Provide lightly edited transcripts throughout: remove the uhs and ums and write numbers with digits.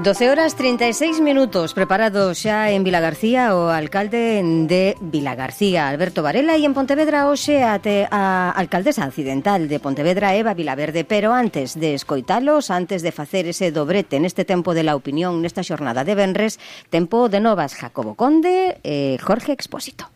12:36, preparados xa en Vilagarcía o alcalde de Vilagarcía, Alberto Varela, e en Pontevedra hoxe a alcaldesa accidental de Pontevedra, Eva Vilaverde. Pero antes de escoitalos, antes de facer ese dobrete neste tempo de la opinión, nesta xornada de venres, tempo de novas, Jacobo Conde e Jorge Expósito.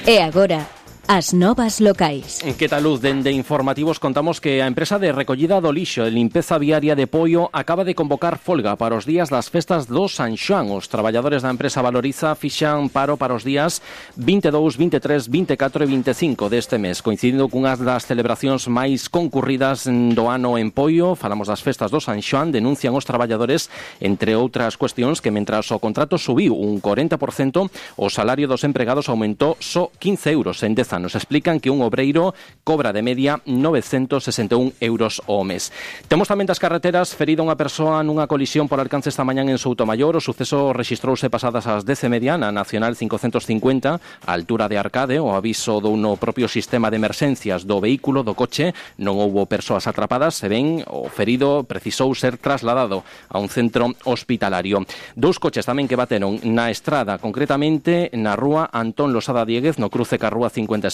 E agora, as novas locais. Que tal, Luz? Dende Informativos contamos que a empresa de recollida do lixo e limpeza viaria de Poio acaba de convocar folga para os días das festas do San Xoán. Os traballadores da empresa Valoriza fixan paro para os días 22, 23, 24 e 25 deste mes, coincidindo cunhas das celebracións máis concurridas do ano en Poio. Falamos das festas do San Xoán. Denuncian os traballadores, entre outras cuestións, que mentras o contrato subiu un 40%, o salario dos empregados aumentou só 15 euros en 10 anos. Explican que un obreiro cobra de media 961 euros ao mes. Temos tamén das carreteras. Ferida unha persoa nunha colisión por alcance esta mañán en Soutomaior. O suceso rexistrouse pasadas as 10:30 na Nacional 550, a altura de Arcade. O aviso do no propio sistema de emerxencias do vehículo, do coche. Non houbo persoas atrapadas, se ben o ferido precisou ser trasladado a un centro hospitalario. Dous coches tamén que bateron na estrada, concretamente na rúa Antón Losada Dieguez, no cruce ca rúa 56,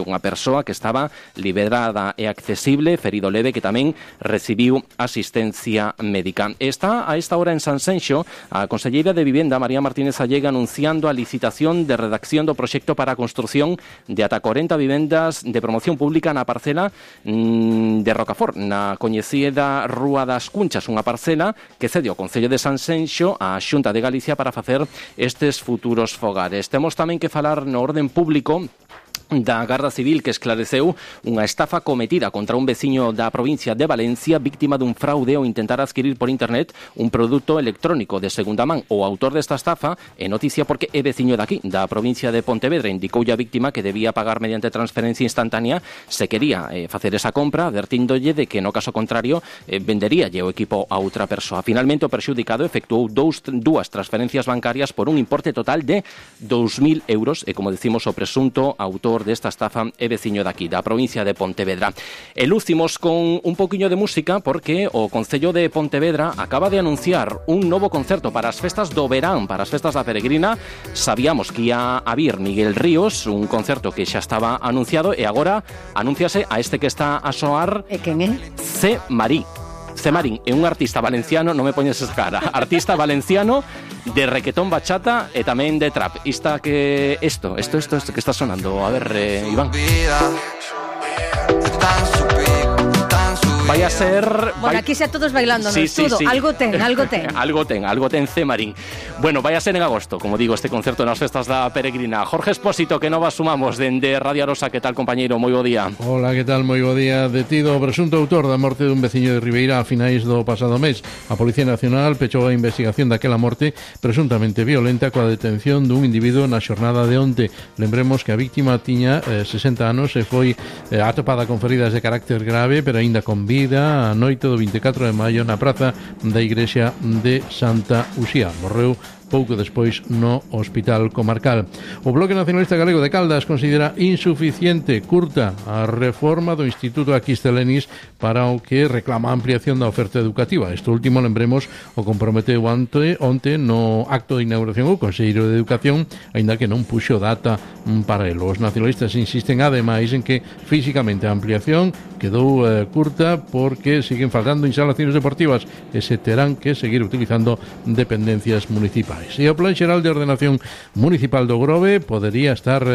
unha persoa que estaba liberada e accesible, ferido leve, que tamén recibiu asistencia médica. Está a esta hora en Sanxenxo a conselleira de Vivenda, María Martínez Allega, anunciando a licitación de redacción do proxecto para a construción de ata 40 vivendas de promoción pública na parcela de Rocafort, na coñecida Rúa das Cunchas, unha parcela que cede o Concello de Sanxenxo á Xunta de Galicia para facer estes futuros fogares. Temos tamén que falar no orden público da Garda Civil, que esclareceu unha estafa cometida contra un veciño da provincia de Valencia, víctima dun fraude ao intentar adquirir por internet un produto electrónico de segunda man. O autor desta estafa é noticia porque é veciño daqui, da provincia de Pontevedra. Indicoulle a víctima que debía pagar mediante transferencia instantánea se quería facer esa compra, advertíndolle de que no caso contrario venderíalle o equipo a outra persoa. Finalmente o perxudicado efectuou dúas transferencias bancarias por un importe total de 2.000 euros e, como decimos, o presunto autor desta estafa é veciño daqui, da provincia de Pontevedra. E lucimos con un poquinho de música porque o Concello de Pontevedra acaba de anunciar un novo concerto para as festas do verán, para as festas da Peregrina. Sabíamos que ia a vir Miguel Ríos, un concerto que xa estaba anunciado, e agora anúnciase a este que está a soar. E quen é? C. Marí. C. Marín é un artista valenciano, non me poñes esa cara, artista valenciano de requetón, bachata e tamén de trap. Isto que está sonando, a ver, Iván. Vai a ser... Bueno, aquí xa todos bailando, sí, todo. Sí. Algo ten. algo ten C. Marín. Bueno, vai a ser en agosto, como digo, este concerto nas festas da Peregrina. Jorge Expósito, que novas sumamos dende Radio Arosa. Que tal, compañeiro? Moi bo día. Hola, que tal? Moi bo día. Detido o presunto autor da morte dun veciño de Ribeira a finais do pasado mes. A Policía Nacional pechou a investigación daquela morte presuntamente violenta coa detención dun individuo na xornada de onte. Lembremos que a víctima tiña 60 anos e foi atopada con feridas de carácter grave, pero aínda con vida a noite do 24 de maio na praza da igrexa de Santa Uxía. Morreu pouco despois no Hospital Comarcal. O Bloque Nacionalista Galego de Caldas considera insuficiente, curta, a reforma do Instituto Aquistelenis para o que reclama a ampliación da oferta educativa. Isto último, lembremos, o comprometeu onte no acto de inauguración o Conselleiro de Educación, aínda que non puxo data para el. Os nacionalistas insisten ademais en que físicamente a ampliación quedou curta porque siguen faltando instalacións deportivas e se terán que seguir utilizando dependencias municipais. E o Plan Xeral de Ordenación Municipal do Grove podería estar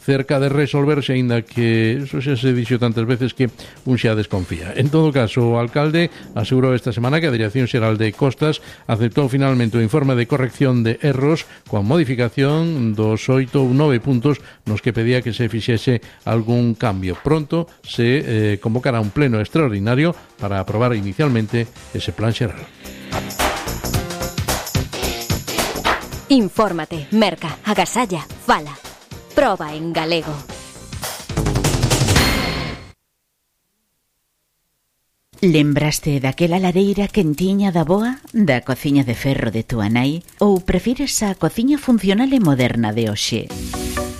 cerca de resolverse, aínda que eso xa se dixo tantas veces que un xa desconfía. En todo caso, o alcalde asegurou esta semana que a Dirección Xeral de Costas aceptou finalmente o informe de corrección de erros coa modificación dos 8 ou 9 puntos nos que pedía que se fixese algún cambio. Pronto se convocará un pleno extraordinario para aprobar inicialmente ese plan xeral. Infórmate, merca, agasalla, fala. Proba en galego. Lembraste daquela lareira quentiña da boa, da cociña de ferro de túa nai, ou prefires a cociña funcional e moderna de hoxe?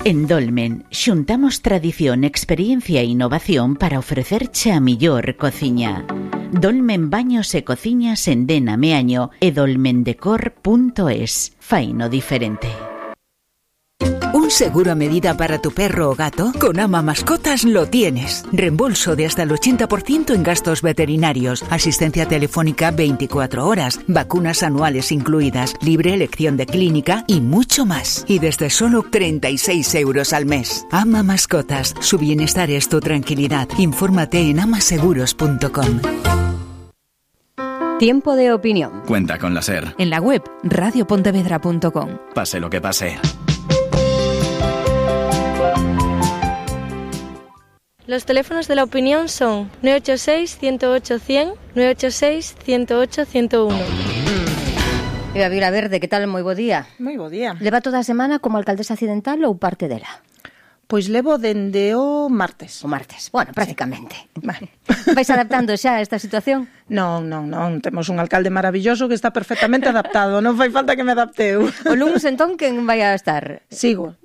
En Dolmen xuntamos tradición, experiencia e innovación para ofrecerche a millor cociña. Dolmen Baños e Cociñas en Dena Meaño e dolmendecor.es. Faino diferente. ¿Un seguro a medida para tu perro o gato? Con Ama Mascotas lo tienes. Reembolso de hasta el 80% en gastos veterinarios, asistencia telefónica 24 horas, vacunas anuales incluidas, libre elección de clínica y mucho más. Y desde solo 36 euros al mes. Ama Mascotas. Su bienestar es tu tranquilidad. Infórmate en amaseguros.com. Tiempo de opinión. Cuenta con la SER. En la web radiopontevedra.com. Pase lo que pase. Los teléfonos de la opinión son 986-108-100, 986-108-101. Eva Vilaverde, que tal? Moi bo día. Moi bo día. Leva toda a semana como alcaldesa accidental ou parte dela? Pois levo dende o martes. O martes, bueno, prácticamente. Sí. Vale. Vais adaptando xa a esta situación? Non. Temos un alcalde maravilloso que está perfectamente adaptado. Non fai falta que me adapte eu. O luns, entón, quen vai a estar? Sigo.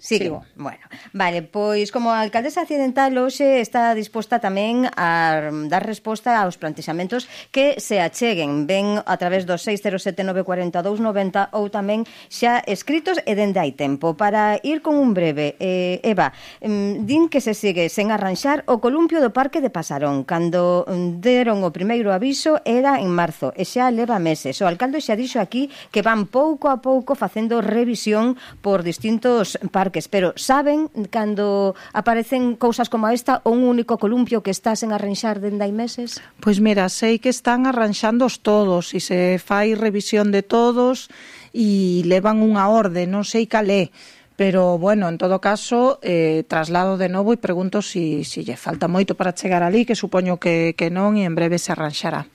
Bueno, vale, pois como a alcaldesa accidental hoxe está disposta tamén a dar resposta aos plantexamentos que se acheguen, ben a través dos 607-942-90 ou tamén xa escritos e dende hai tempo. Para ir con un breve, Eva, din que se sigue sen arranxar o columpio do Parque de Pasarón. Cando deron o primeiro aviso era en marzo e xa leva meses. O alcalde xa dixo aquí que van pouco a pouco facendo revisión por distintos parques, pero saben cando aparecen cousas como esta ou un único columpio que está sen arranxar dende hai meses? Pois mira, sei que están arranxándoos todos e se fai revisión de todos e levan unha orde, non sei cal é. Pero, bueno, en todo caso, traslado de novo e pregunto si lle falta moito para chegar ali, que supoño que non, e en breve se arranxará.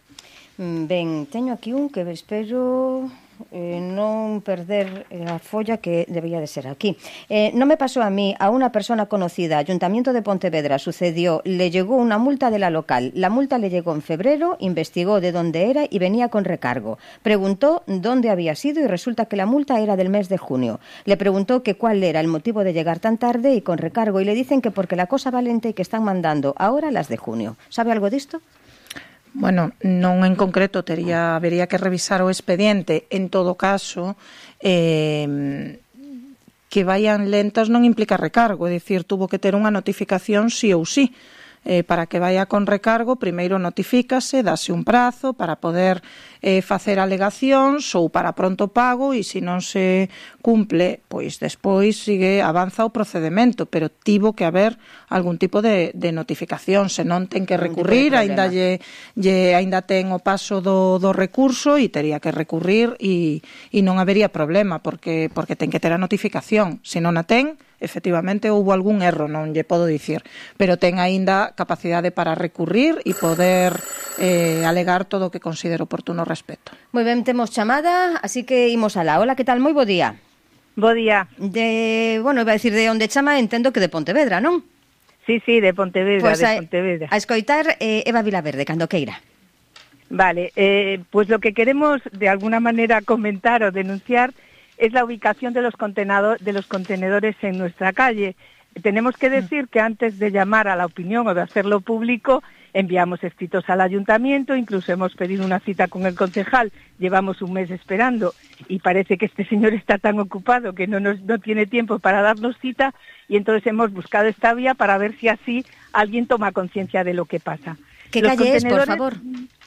Ben, teño aquí un que espero non perder a folla que debía de ser aquí. Non me pasó a mí, a una persona conocida, Ayuntamiento de Pontevedra, sucedió, le llegó una multa de la local. La multa le llegó en febrero, investigó de dónde era y venía con recargo. Preguntó dónde había sido y resulta que la multa era del mes de junio. Le preguntó que cuál era el motivo de llegar tan tarde y con recargo y le dicen que porque la cosa valente y que están mandando ahora las de junio. ¿Sabe algo disto? Bueno, non en concreto, habería que revisar o expediente. En todo caso, que vayan lentas non implica recargo, é dicir, tuvo que ter unha notificación sí ou sí. Para que vaya con recargo, primeiro notifícase, dase un prazo para poder facer alegacións ou para pronto pago e se non se cumple, pois despois avanza o procedemento, pero tivo que haber algún tipo de notificación, senón ten que recurrir, aínda ten o paso do recurso e tería que recurrir e non habería problema porque ten que ter a notificación. Se non a ten, efectivamente houbo algún erro, non lle podo dicir, pero ten aínda capacidade para recurrir e poder alegar todo o que considero oportuno respecto. Moi ben, temos chamada, así que imos alá. Hola, que tal? Moi bo día. Bo día. Iba a decir de onde chama, entendo que de Pontevedra, non? Sí, de Pontevedra, pues de Pontevedra. A escoitar Eva Vilaverde, cando queira. Vale, pues lo que queremos de alguna manera comentar o denunciar es la ubicación de los contenedores en nuestra calle. Tenemos que decir que antes de llamar a la opinión o de hacerlo público, enviamos escritos al ayuntamiento, incluso hemos pedido una cita con el concejal, llevamos un mes esperando y parece que este señor está tan ocupado que no tiene tiempo para darnos cita y entonces hemos buscado esta vía para ver si así alguien toma conciencia de lo que pasa. ¿Qué calle es, por favor?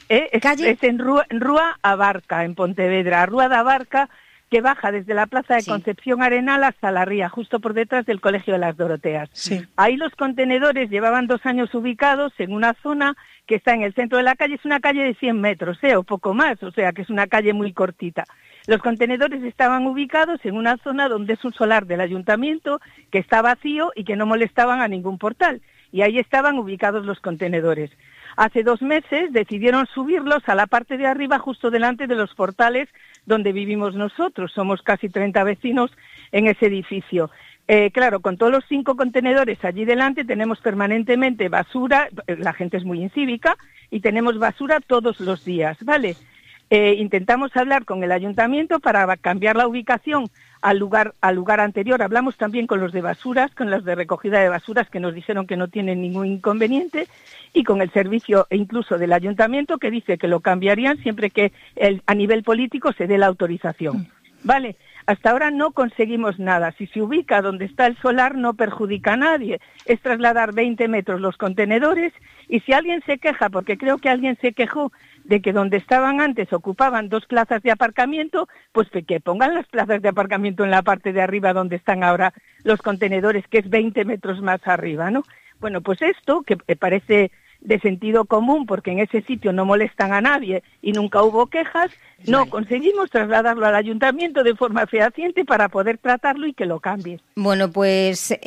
Es en Rúa Abarca, en Pontevedra. Rúa de Abarca, que baja desde la Plaza de Concepción Arenal hasta la ría, justo por detrás del Colegio de las Doroteas. Sí. Ahí los contenedores llevaban 2 años ubicados en una zona que está en el centro de la calle, es una calle de 100 metros, o poco más, o sea que es una calle muy cortita. Los contenedores estaban ubicados en una zona donde es un solar del ayuntamiento que está vacío y que no molestaban a ningún portal, y ahí estaban ubicados los contenedores. Hace 2 meses decidieron subirlos a la parte de arriba, justo delante de los portales donde vivimos nosotros. Somos casi 30 vecinos en ese edificio. Claro, con todos los 5 contenedores allí delante tenemos permanentemente basura, la gente es muy incívica, y tenemos basura todos los días, ¿vale? Intentamos hablar con el ayuntamiento para cambiar la ubicación al lugar anterior. Hablamos también con los de basuras, con los de recogida de basuras, que nos dijeron que no tienen ningún inconveniente, y con el servicio e incluso del ayuntamiento, que dice que lo cambiarían siempre que a nivel político se dé la autorización. Vale, hasta ahora no conseguimos nada. Si se ubica donde está el solar no perjudica a nadie. Es trasladar 20 metros los contenedores, y si alguien se queja, porque creo que alguien se quejó de que donde estaban antes ocupaban 2 plazas de aparcamiento, pues que pongan las plazas de aparcamiento en la parte de arriba donde están ahora los contenedores, que es 20 metros más arriba, ¿no? Bueno, pues esto, que parece de sentido común, porque en ese sitio no molestan a nadie y nunca hubo quejas, no conseguimos trasladarlo al ayuntamiento de forma fehaciente para poder tratarlo y que lo cambie. Bueno, pues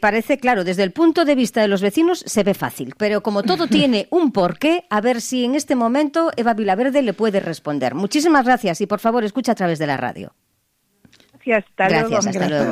parece claro, desde el punto de vista de los vecinos se ve fácil, pero como todo tiene un porqué, a ver si en este momento Eva Vilaverde le puede responder. Muchísimas gracias y por favor escucha a través de la radio. Gracias, hasta luego.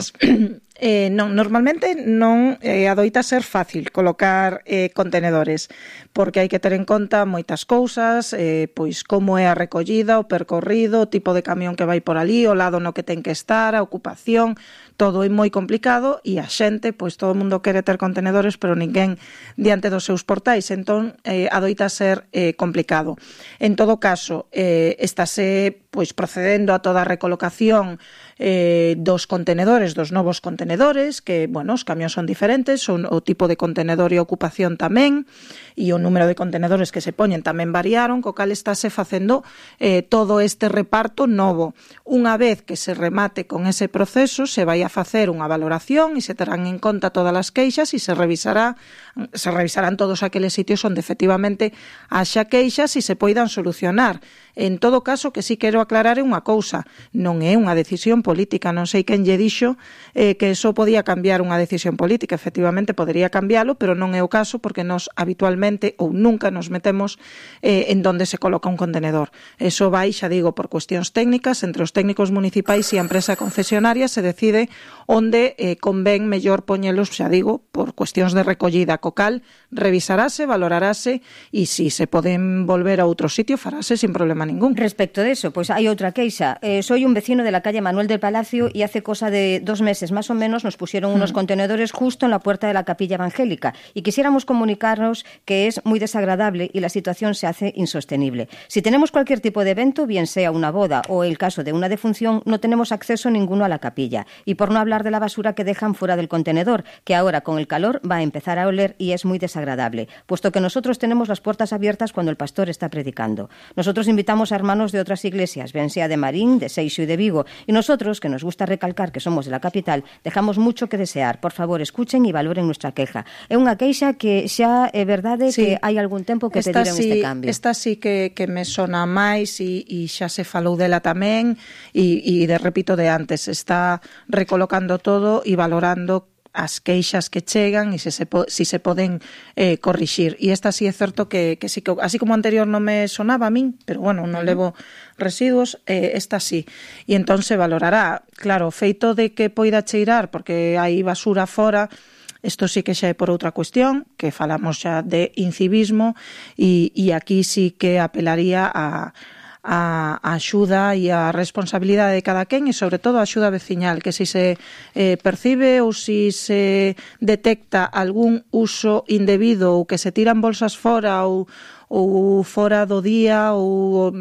Normalmente non adoita ser fácil colocar contenedores, porque hai que ter en conta moitas cousas, pois como é a recollida, o percorrido, o tipo de camión que vai por ali, o lado no que ten que estar, a ocupación, todo é moi complicado, e a xente, pois todo o mundo quere ter contenedores, pero ninguén diante dos seus portais, entón adoita ser complicado. En todo caso, estáse pois procedendo a toda a recolocación dos contenedores, dos novos contenedores, que, bueno, os camións son diferentes, son o tipo de contenedor e ocupación tamén, e o número de contenedores que se poñen tamén variaron, co cal estáse facendo todo este reparto novo. Unha vez que se remate con ese proceso, se vai a facer unha valoración e se terán en conta todas as queixas e se revisarán todos aqueles sitios onde efectivamente haxa queixas e se poidan solucionar. En todo caso, que sí quero aclarar unha cousa, non é unha decisión política, non sei quen lle dixo que eso podía cambiar unha decisión política, efectivamente podería cambialo, pero non é o caso porque nos habitualmente ou nunca nos metemos en donde se coloca un contenedor. Eso vai, xa digo, por cuestións técnicas, entre os técnicos municipais e a empresa concesionaria se decide onde convén mellor poñelos, xa digo, por cuestións de recollida, co cal revisarase, valorarase e se se poden volver a outro sitio farase sin problema ningún. Respecto de eso, pues hay otra queixa. Soy un vecino de la calle Manuel del Palacio y hace cosa de 2 meses más o menos nos pusieron unos contenedores justo en la puerta de la capilla evangélica y quisiéramos comunicarnos que es muy desagradable y la situación se hace insostenible. Si tenemos cualquier tipo de evento, bien sea una boda o el caso de una defunción, no tenemos acceso ninguno a la capilla. Y por no hablar de la basura que dejan fuera del contenedor, que ahora con el calor va a empezar a oler y es muy desagradable, puesto que nosotros tenemos las puertas abiertas cuando el pastor está predicando. Nosotros invitamos a hermanos de otras iglesias, bien sea de Marín, de Seixo y de Vigo, y nosotros, que nos gusta recalcar que somos de la capital, dejamos mucho que desear. Por favor, escuchen e valoren nuestra queja. É unha queixa que xa é verdade que hai algún tempo que pediron este cambio. Esta sí que me sona máis e xa se falou dela tamén e repito de antes, está recolocando todo e valorando as queixas que chegan e se se poden corrixir. E esta sí é certo que sí que, así como anterior non me sonaba a min, pero bueno, non levo residuos, esta sí. E entón se valorará. Claro, o feito de que poida cheirar porque hai basura fora, isto sí que xa é por outra cuestión, que falamos xa de incivismo e aquí sí que apelaría a axuda e a responsabilidade de cada quen e sobre todo a axuda veciñal, que se percibe ou se detecta algún uso indebido ou que se tiran bolsas fora ou fora do día ou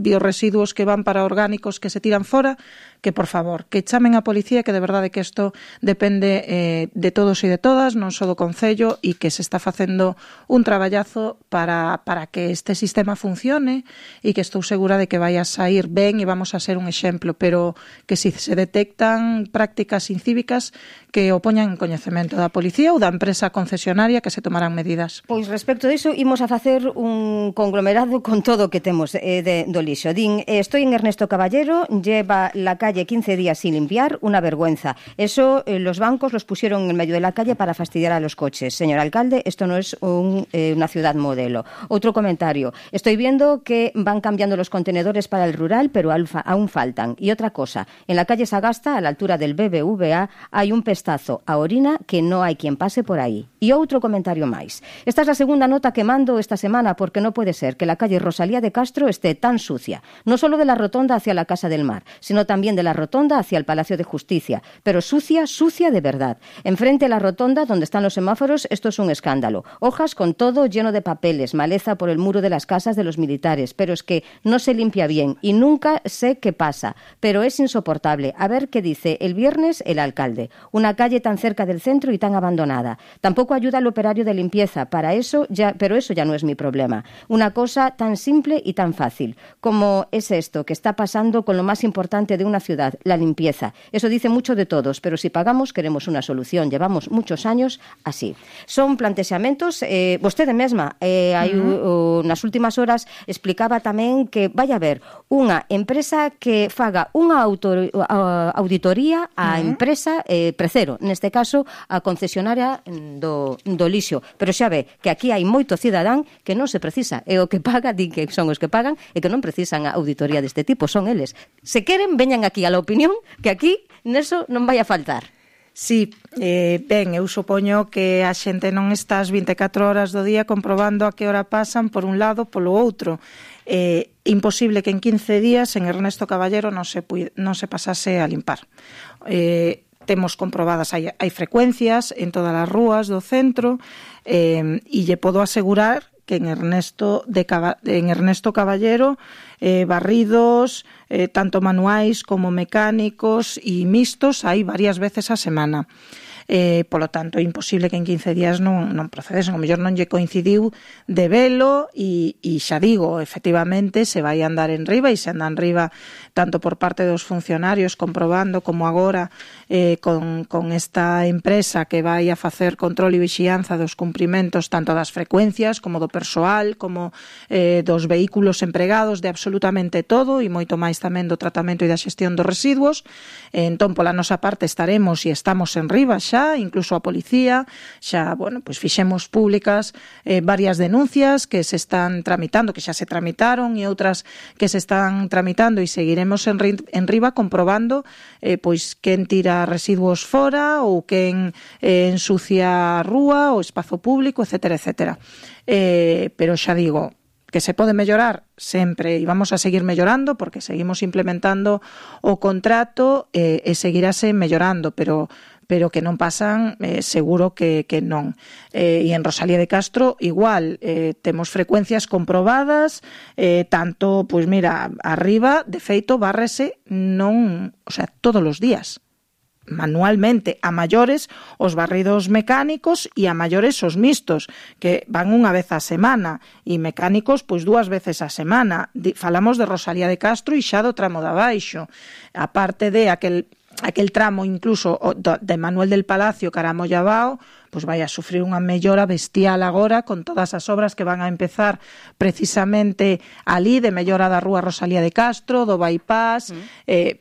biorresiduos que van para orgánicos que se tiran fora, que por favor, que chamen a policía, que de verdade que isto depende de todos e de todas, non só do Concello, e que se está facendo un traballazo para que este sistema funcione e que estou segura de que vai a sair ben e vamos a ser un exemplo, pero que se detectan prácticas incívicas que o poñan en coñecemento da policía ou da empresa concesionaria, que se tomarán medidas. Pois respecto disso, imos a facer un conglomerado con todo o que temos do lixo. Din, estoy en Ernesto Caballero, lleva la calle 15 días sin limpiar, una vergüenza. Eso los bancos los pusieron en el medio de la calle para fastidiar a los coches. Señor alcalde, esto no es una ciudad modelo. Otro comentario, estoy viendo que van cambiando los contenedores para el rural, pero aún faltan. Y otra cosa, en la calle Sagasta, a la altura del BBVA, hay un pestazo a orina que no hay quien pase por ahí. Y outro comentario máis. Esta es la segunda nota que mando esta semana porque no puede ser que la calle Rosalía de Castro esté esté tan sucia, no solo de la rotonda hacia la Casa del Mar, sino también de la rotonda hacia el Palacio de Justicia, pero sucia, sucia de verdad. Enfrente a la rotonda, donde están los semáforos, esto es un escándalo. Hojas con todo lleno de papeles, maleza por el muro de las casas de los militares, pero es que no se limpia bien y nunca sé qué pasa, pero es insoportable. A ver qué dice el viernes el alcalde. Una calle tan cerca del centro y tan abandonada. Tampoco ayuda al operario de limpieza, pero eso ya no es mi problema. Una cosa tan simple y tan fácil como es esto que está pasando con lo más importante de una ciudad, la limpieza. Eso dice mucho de todos, pero si pagamos queremos una solución. Llevamos muchos años así. Son plantexamentos, vostede mesma nas últimas horas explicaba tamén que vai haber unha empresa que faga unha auditoría á empresa Precero, neste caso a concesionaria do lixo, pero xa ve que aquí hai moito cidadán que non se precisa, e o que paga, din que son os que pagan e que non precisan a auditoría deste tipo, son eles. Se queren, veñan aquí a la opinión, que aquí neso non vai a faltar. Sí, ben, eu supoño que a xente non está as 24 horas do día comprobando a que hora pasan por un lado polo outro. Imposible que en 15 días en Ernesto Caballero non se pasase a limpar. Temos comprobadas, hai frecuencias en todas as rúas do centro, e lle podo asegurar que en Ernesto Caballero barridos, tanto manuais como mecánicos e mixtos, hai varias veces a semana. Polo tanto, é imposible que en 15 días non procedesen. O mellor non lle coincidiu de velo e xa digo, efectivamente, se vai andar en riba e se anda en riba tanto por parte dos funcionarios comprobando como agora con esta empresa que vai a facer control e vixianza dos cumprimentos tanto das frecuencias como do persoal, como dos vehículos empregados, de absolutamente todo e moito máis tamén do tratamento e da xestión dos residuos. Entón, pola nosa parte estaremos e estamos en riba xa, incluso a policía, xa, bueno, pois fixemos públicas varias denuncias que se están tramitando, que xa se tramitaron e outras que se están tramitando e seguiremos en riba comprobando pois quen tira residuos fora ou quen ensucia a rúa, o espazo público, etcétera, etcétera. Pero xa digo, que se pode mellorar sempre e vamos a seguir mellorando porque seguimos implementando o contrato e seguirase mellorando, pero que non pasan, seguro que non. E en Rosalía de Castro, igual, temos frecuencias comprobadas, tanto, pois mira, arriba, de feito, bárrese todos os días, manualmente, a maiores os barridos mecánicos e a maiores os mixtos, que van unha vez a semana, e mecánicos, pois 2 veces a semana. Falamos de Rosalía de Castro e xa do tramo de abaixo, aparte de aquel tramo incluso de Manuel del Palacio cara a Mollabao, pois vai a sufrir unha mellora bestial agora con todas as obras que van a empezar precisamente ali de mellora da rúa Rosalía de Castro, do bypass.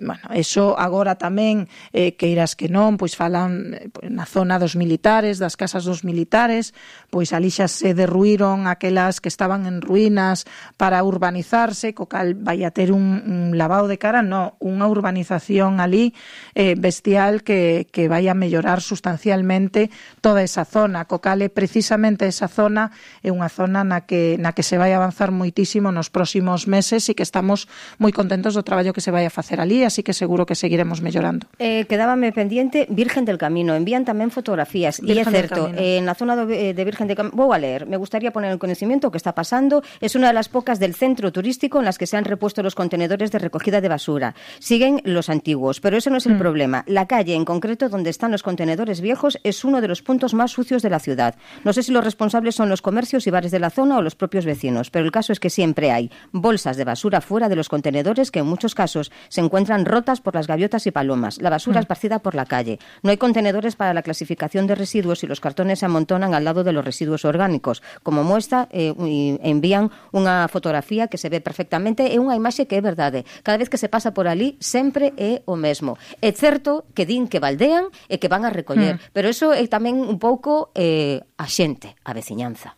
Bueno, eso agora tamén, que irás que non, pois falan na zona dos militares, das casas dos militares, pois ali xa se derruíron aquelas que estaban en ruínas para urbanizarse, co cal vai a ter un lavado de cara, unha urbanización ali bestial que vai a mellorar sustancialmente toda esa zona, co cal precisamente esa zona é unha zona na que se vai avanzar moitísimo nos próximos meses e que estamos moi contentos do traballo que se vai a facer ali, así que seguro que seguiremos mellorando. Quedábame pendiente Virgen del Camino, envían tamén fotografías e é certo, na zona de Virgen del Camino, vou a leer, me gustaría poner en conocimiento o que está pasando, es una de las pocas del centro turístico en las que se han repuesto los contenedores de recogida de basura, siguen los antiguos, pero eso no es el problema, la calle en concreto donde están los contenedores viejos es uno de los puntos más sucios de la ciudad. No sé si los responsables son los comercios y bares de la zona o los propios vecinos, pero el caso es que siempre hay bolsas de basura fuera de los contenedores que en muchos casos se encuentran rotas por las gaviotas y palomas, la basura esparcida por la calle. No hay contenedores para la clasificación de residuos y los cartones se amontonan al lado de los residuos orgánicos. Como muestra, envían unha fotografía que se ve perfectamente e unha imaxe que é verdade. Cada vez que se pasa por ali, sempre é o mesmo. É certo que din que baldean e que van a recoller, pero eso é tamén un pouco a xente, a veciñanza.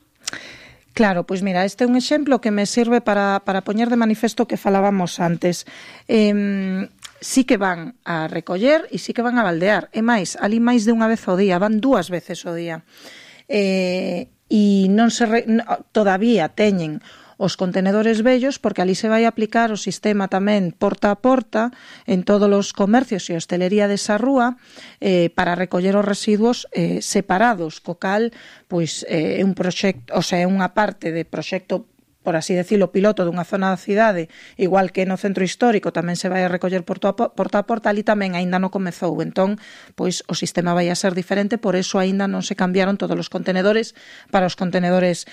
Claro, pois mira, este é un exemplo que me sirve para poñer de manifesto que falábamos antes. Sí que van a recoller e sí que van a baldear. E máis, ali máis de unha vez ao día, van 2 veces ao día. E non todavía teñen os contenedores vellos, porque ali se vai aplicar o sistema tamén porta a porta en todos os comercios e hostelería desa rúa para recoller os residuos separados, co cal pois é un proxecto, o sea, é unha parte de proxecto, por así decirlo, piloto dunha zona da cidade, igual que no centro histórico tamén se vai a recoller porta a porta, ali tamén aínda non comezou, entón, pois o sistema vai a ser diferente, por eso aínda non se cambiaron todos os contenedores para os contenedores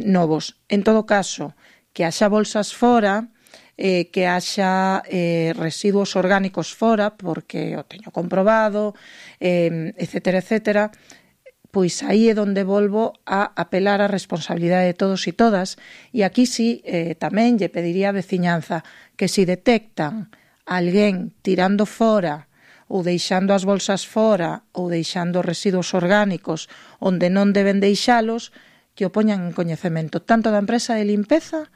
novos. En todo caso, que haxa bolsas fora, que haxa residuos orgánicos fora, porque o teño comprobado, etcétera, etcétera, pois aí é onde volvo a apelar á responsabilidade de todos e todas, e aquí sí tamén lle pediría a veciñanza que si detectan alguén tirando fora ou deixando as bolsas fora ou deixando residuos orgánicos onde non deben deixalos, que o poñan en coñecemento tanto da empresa de limpeza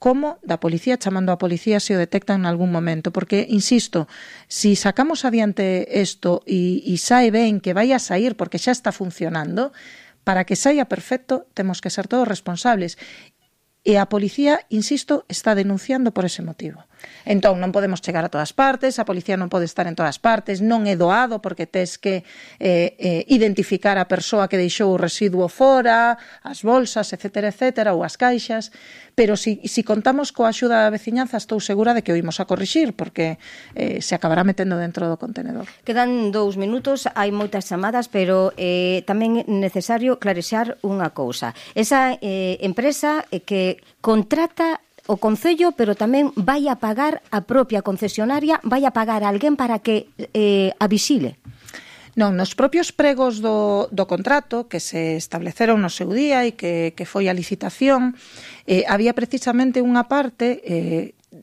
como da policía, chamando a policía se o detectan en algún momento, porque, insisto, si sacamos adiante isto e sae ben, que vai a sair porque xa está funcionando, para que saia perfecto temos que ser todos responsables. E a policía, insisto, está denunciando por ese motivo. Entón, non podemos chegar a todas partes, a policía non pode estar en todas partes, non é doado porque tes que identificar a persoa que deixou o residuo fora, as bolsas, etcétera, etcétera, ou as caixas, pero si contamos coa axuda da veciñanza, estou segura de que o imos a corrixir, porque se acabará metendo dentro do contenedor. Quedan 2 minutos, hai moitas chamadas, pero tamén é necesario clarexar unha cousa. Esa empresa que contrata o Concello, pero tamén vai a pagar a propia concesionaria, vai a pagar a alguén para que a vixile. Non, nos propios pregos do contrato que se estableceron no seu día e que foi a licitación, había precisamente unha parte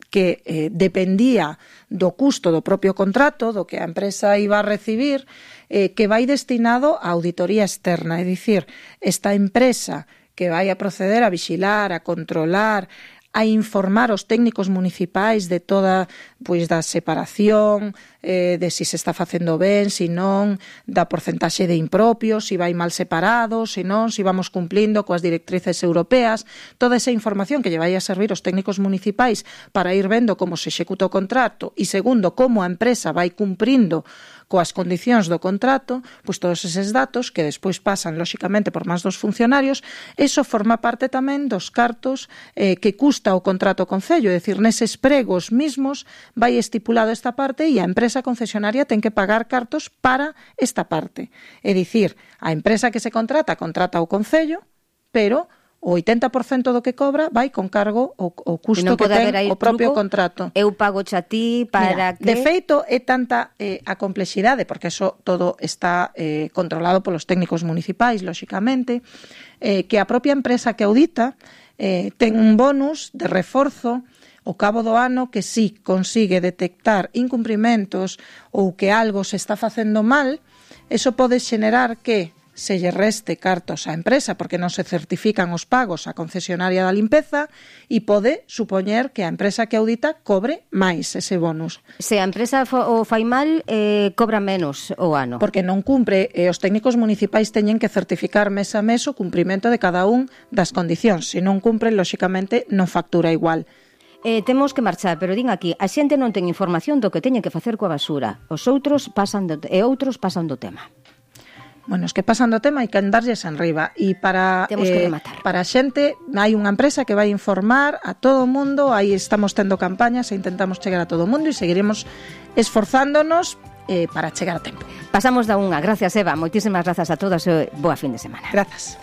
que dependía do custo do propio contrato, do que a empresa iba a recibir, que vai destinado a auditoría externa, é dicir, esta empresa que vai a proceder a vixilar, a controlar, a informar os técnicos municipais de toda, pois, da separación, de si se está facendo ben, si non, da porcentaxe de impropios, si vai mal separado, si non, si vamos cumplindo coas directrices europeas, toda esa información que lle vai a servir os técnicos municipais para ir vendo como se executa o contrato e, segundo, como a empresa vai cumprindo coas condicións do contrato, pois todos eses datos que despois pasan, lóxicamente, por máis dos funcionarios, eso forma parte tamén dos cartos que custa o contrato Concello, é dicir, neses pregos mismos vai estipulado esta parte e a empresa concesionaria ten que pagar cartos para esta parte. É dicir, a empresa que se contrata o Concello, pero o 80% do que cobra vai con cargo o custo que ten o propio contrato. Eu pago a ti para que... De feito, é tanta a complexidade, porque eso todo está controlado polos técnicos municipais, lóxicamente, que a propia empresa que audita ten un bonus de reforzo ao cabo do ano que si consigue detectar incumprimentos ou que algo se está facendo mal, eso pode xenerar que se lle reste cartos á empresa porque non se certifican os pagos á concesionaria da limpeza e pode supoñer que a empresa que audita cobre máis ese bonus. Se a empresa o fai mal, cobra menos o ano. Porque non cumpre, os técnicos municipais teñen que certificar mes a mes o cumprimento de cada un das condicións. Se non cumpren, lóxicamente, non factura igual. Temos que marchar, pero din aquí, a xente non ten información do que teñen que facer coa basura. Os outros pasan do tema. Bueno, os que pasan do tema hai que andarlles enriba e para a xente hai unha empresa que vai informar a todo o mundo, aí estamos tendo campañas e intentamos chegar a todo o mundo e seguiremos esforzándonos para chegar a tempo. Pasamos da unha. Gracias, Eva. Moitísimas grazas a todas e boa fin de semana. Grazas.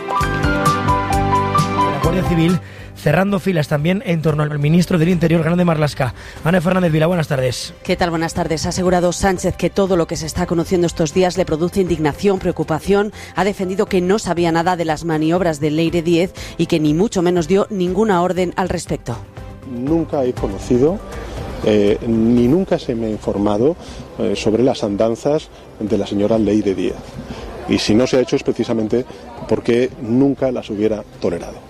La Guardia Civil cerrando filas también en torno al ministro del Interior, Grande Marlaska. Ana Fernández Vila, buenas tardes. ¿Qué tal? Buenas tardes. Ha asegurado Sánchez que todo lo que se está conociendo estos días le produce indignación, preocupación. Ha defendido que no sabía nada de las maniobras de Leire Díez y que ni mucho menos dio ninguna orden al respecto. Nunca he conocido ni nunca se me ha informado sobre las andanzas de la señora Leire Díez. Y si no se ha hecho es precisamente porque nunca las hubiera tolerado.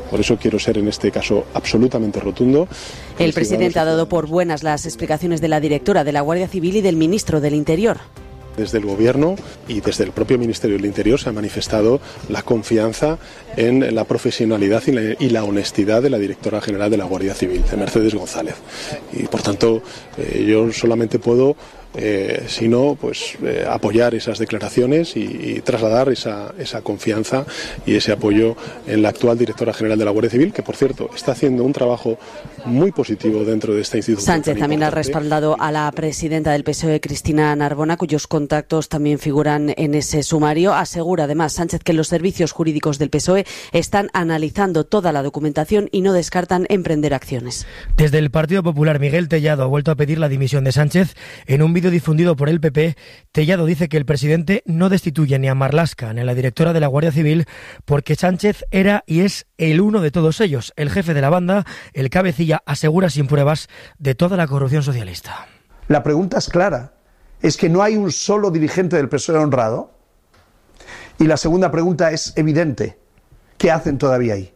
Por eso quiero ser en este caso absolutamente rotundo. El presidente ha dado por buenas las explicaciones de la directora de la Guardia Civil y del ministro del Interior. Desde el Gobierno y desde el propio Ministerio del Interior se ha manifestado la confianza en la profesionalidad y la honestidad de la directora general de la Guardia Civil, de Mercedes González. Y por tanto, yo solamente puedo apoyar esas declaraciones y trasladar esa confianza y ese apoyo en la actual directora general de la Guardia Civil, que por cierto está haciendo un trabajo muy positivo dentro de esta institución. Sánchez también ha respaldado a la presidenta del PSOE, Cristina Narbona, cuyos contactos también figuran en ese sumario. Asegura además Sánchez que los servicios jurídicos del PSOE están analizando toda la documentación y no descartan emprender acciones. Desde el Partido Popular, Miguel Tellado ha vuelto a pedir la dimisión de Sánchez. En un vídeo difundido por el PP, Tellado dice que el presidente no destituye ni a Marlaska ni a la directora de la Guardia Civil porque Sánchez era y es el uno de todos ellos, el jefe de la banda, el cabecilla, asegura sin pruebas, de toda la corrupción socialista. La pregunta es clara, es que no hay un solo dirigente del PSOE honrado. Y la segunda pregunta es evidente, ¿qué hacen todavía ahí?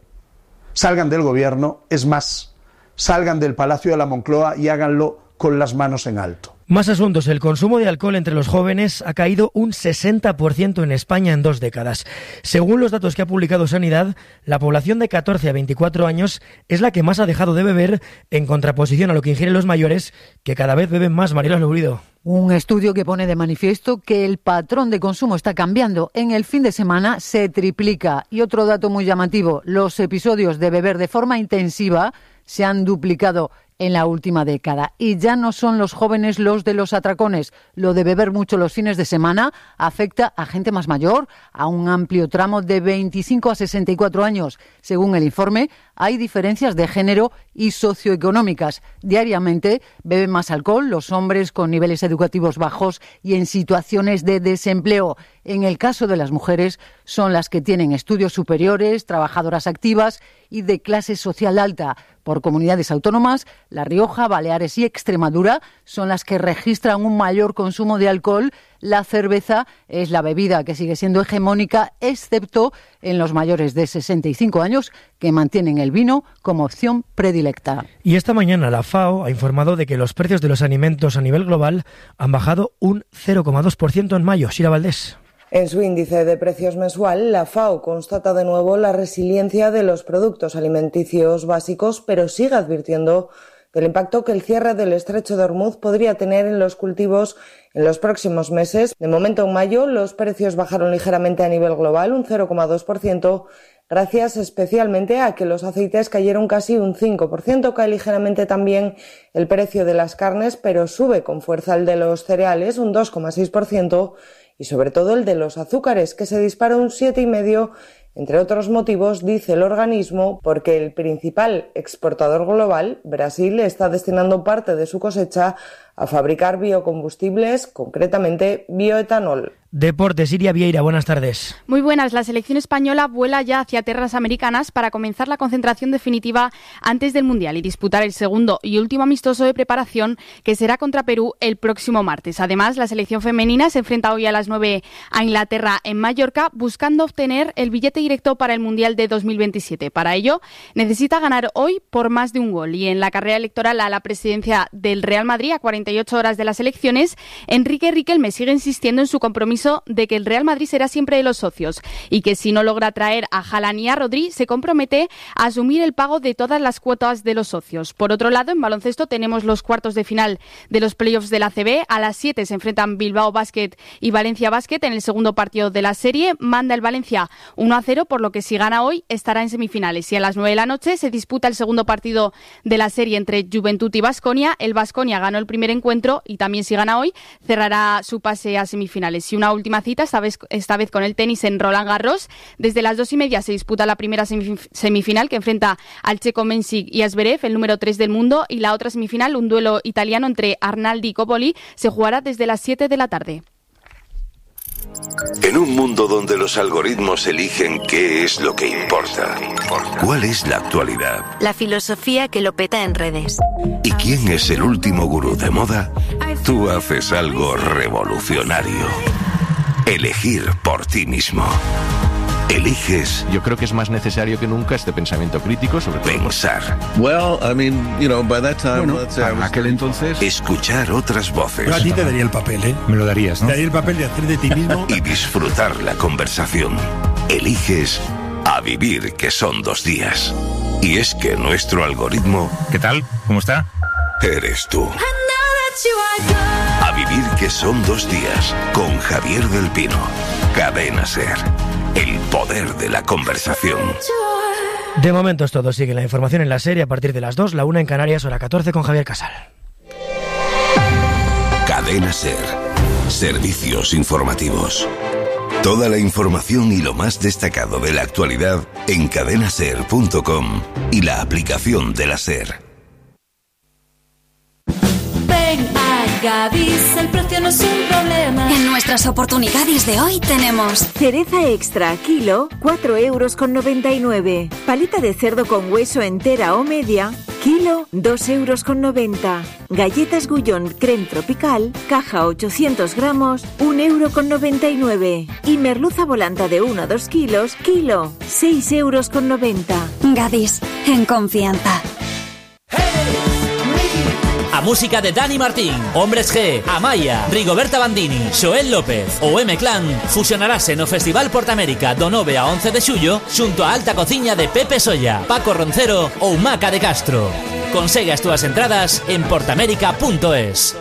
Salgan del gobierno, es más, salgan del Palacio de la Moncloa y háganlo con las manos en alto. Más asuntos. El consumo de alcohol entre los jóvenes ha caído un 60% en España en 2 décadas. Según los datos que ha publicado Sanidad, la población de 14 a 24 años es la que más ha dejado de beber, en contraposición a lo que ingieren los mayores, que cada vez beben más. Mariela Lourido. Un estudio que pone de manifiesto que el patrón de consumo está cambiando. En el fin de semana se triplica. Y otro dato muy llamativo, los episodios de beber de forma intensiva se han duplicado en la última década. Y ya no son los jóvenes los de los atracones. Lo de beber mucho los fines de semana afecta a gente más mayor, a un amplio tramo de 25 a 64 años. Según el informe, hay diferencias de género y socioeconómicas. Diariamente beben más alcohol los hombres con niveles educativos bajos y en situaciones de desempleo. En el caso de las mujeres, son las que tienen estudios superiores, trabajadoras activas y de clase social alta. Por comunidades autónomas, La Rioja, Baleares y Extremadura son las que registran un mayor consumo de alcohol. La cerveza es la bebida que sigue siendo hegemónica, excepto en los mayores de 65 años, que mantienen el vino como opción predilecta. Y esta mañana la FAO ha informado de que los precios de los alimentos a nivel global han bajado un 0,2% en mayo. Sira Valdés. En su índice de precios mensual, la FAO constata de nuevo la resiliencia de los productos alimenticios básicos, pero sigue advirtiendo del impacto que el cierre del estrecho de Hormuz podría tener en los cultivos en los próximos meses. De momento, en mayo, los precios bajaron ligeramente a nivel global, un 0,2%, gracias especialmente a que los aceites cayeron casi un 5%. Cae ligeramente también el precio de las carnes, pero sube con fuerza el de los cereales, un 2,6%, y sobre todo el de los azúcares, que se dispara un 7,5%, entre otros motivos, dice el organismo, porque el principal exportador global, Brasil, está destinando parte de su cosecha a fabricar biocombustibles, concretamente bioetanol. Deportes, Iria Vieira, buenas tardes. Muy buenas. La selección española vuela ya hacia tierras americanas para comenzar la concentración definitiva antes del Mundial y disputar el segundo y último amistoso de preparación, que será contra Perú el próximo martes. Además, la selección femenina se enfrenta hoy a las 9 a Inglaterra en Mallorca, buscando obtener el billete directo para el Mundial de 2027. Para ello, necesita ganar hoy por más de un gol. Y en la carrera electoral a la presidencia del Real Madrid, a 48 horas de las elecciones, Enrique Riquelme sigue insistiendo en su compromiso de que el Real Madrid será siempre de los socios y que si no logra traer a Haaland y a Rodri, se compromete a asumir el pago de todas las cuotas de los socios. Por otro lado, en baloncesto tenemos los cuartos de final de los playoffs de la ACB. A las 7 se enfrentan Bilbao Basket y Valencia Basket en el segundo partido de la serie. Manda el Valencia 1-0, por lo que si gana hoy estará en semifinales. Y a las 9 de la noche se disputa el segundo partido de la serie entre Juventud y Baskonia. El Baskonia ganó el primer encuentro y también si gana hoy cerrará su pase a semifinales. Y una última cita, esta vez con el tenis en Roland Garros. Desde las 2:30 se disputa la primera semifinal, que enfrenta al checo Mensik y a Zverev, el número 3 del mundo, y la otra semifinal, un duelo italiano entre Arnaldi y Coppoli, se jugará desde las 7 de la tarde. En un mundo donde los algoritmos eligen qué es lo que importa, ¿cuál es la actualidad? La filosofía que lo peta en redes. ¿Y quién es el último gurú de moda? Tú haces algo revolucionario. Elegir por ti mismo. Eliges. Yo creo que es más necesario que nunca este pensamiento crítico sobre todo. Pensar. Well, I mean, you know, by that time, bueno, para aquel entonces. Escuchar otras voces. Yo a ti te daría el papel, ¿eh? Me lo darías, ¿no? Te daría el papel de hacer de ti mismo. Y disfrutar la conversación. Eliges a vivir, que son 2 días. Y es que nuestro algoritmo... ¿Qué tal? ¿Cómo está? Eres tú. A vivir, que son 2 días. Con Javier del Pino. Cadena SER. El poder de la conversación. De momento es todo. Sigue la información en la serie a partir de las 2, la 1 en Canarias, hora 14 con Javier Casal. Cadena SER. Servicios informativos. Toda la información y lo más destacado de la actualidad en cadenaser.com y la aplicación de la SER. Ven a Gadis, el precio no es un problema. En nuestras oportunidades de hoy tenemos cereza extra, kilo, 4,99 €. Paleta de cerdo con hueso entera o media, kilo, 2,90 €. Galletas Gullón creme tropical, caja 800 gramos, 1,99 €. Y merluza volanta de 1 a 2 kilos, kilo, 6,90 €. Gadis, en confianza. A música de Dani Martín, Hombres G, Amaya, Rigoberta Bandini, Xoel López ou M-Clan fusionarase no Festival Portamérica do 9 a 11 de xullo xunto a alta cociña de Pepe Solla, Paco Roncero ou Maca de Castro. Consegue as túas entradas en portamérica.es.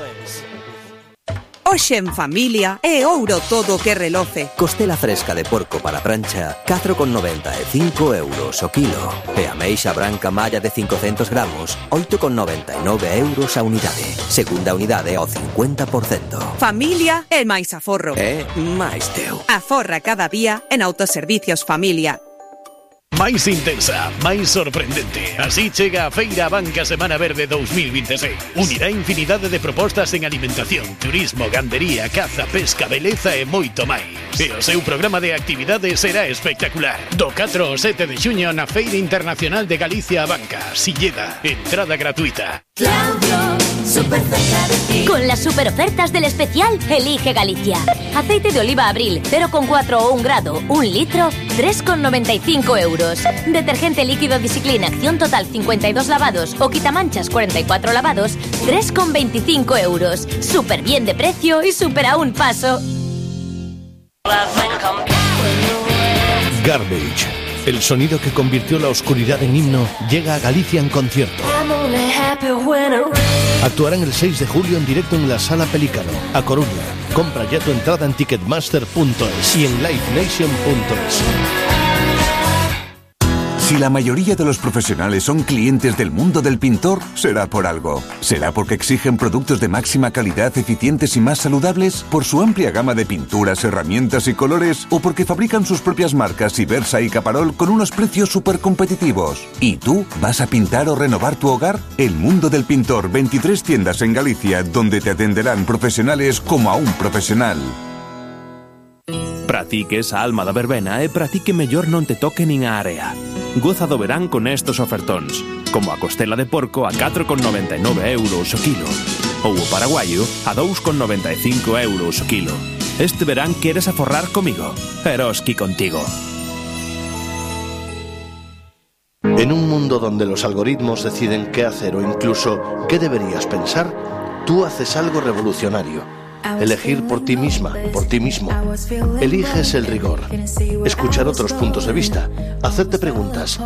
Hoxe en familia é ouro todo que reloce. Costela fresca de porco para prancha, 4,95 € o kilo. E ameixa branca malla de 500 gramos, 8,99 € a unidade. Segunda unidade ao 50%. Familia é máis aforro. É máis teu. Aforra cada día en Autoservicios Familia. Máis intensa, máis sorprendente. Así chega a Feira Abanca Semana Verde 2026. Unirá infinidade de propostas en alimentación, turismo, gandería, caza, pesca, beleza e moito máis. E o seu programa de actividades será espectacular. Do 4 ao 7 de xuño na Feira Internacional de Galicia Abanca, Silleda. Entrada gratuita. Claudio, super cerca de ti. Con las super ofertas del especial Elige Galicia. Aceite de oliva Abril 0,4 o 1 grado, 1 litro, 3,95 €. Detergente líquido Discipline Acción Total 52 lavados o quitamanchas 44 lavados, 3,25 €. Súper bien de precio y súper a un paso. Garbage. El sonido que convirtió la oscuridad en himno llega a Galicia en concierto. Actuarán el 6 de julio en directo en la Sala Pelícano, a Coruña. Compra ya tu entrada en ticketmaster.es y en livenation.es. Si la mayoría de los profesionales son clientes del mundo del pintor, será por algo. ¿Será porque exigen productos de máxima calidad, eficientes y más saludables? ¿Por su amplia gama de pinturas, herramientas y colores? ¿O porque fabrican sus propias marcas Ibersa y Caparol con unos precios súper competitivos? ¿Y tú? ¿Vas a pintar o renovar tu hogar? El mundo del pintor, 23 tiendas en Galicia, donde te atenderán profesionales como a un profesional. Pratique esa alma da verbena e pratique mellor non te toque nin a area. Goza do verán con estos ofertóns, como a costela de porco a 4,99 € o kilo, ou o paraguayo a 2,95 € o kilo. Este verán queres aforrar comigo, Eroski contigo. En un mundo donde los algoritmos deciden qué hacer o incluso qué deberías pensar, tú haces algo revolucionario. Elegir por ti misma, por ti mismo. Eliges el rigor. Escuchar otros puntos de vista. Hacerte preguntas.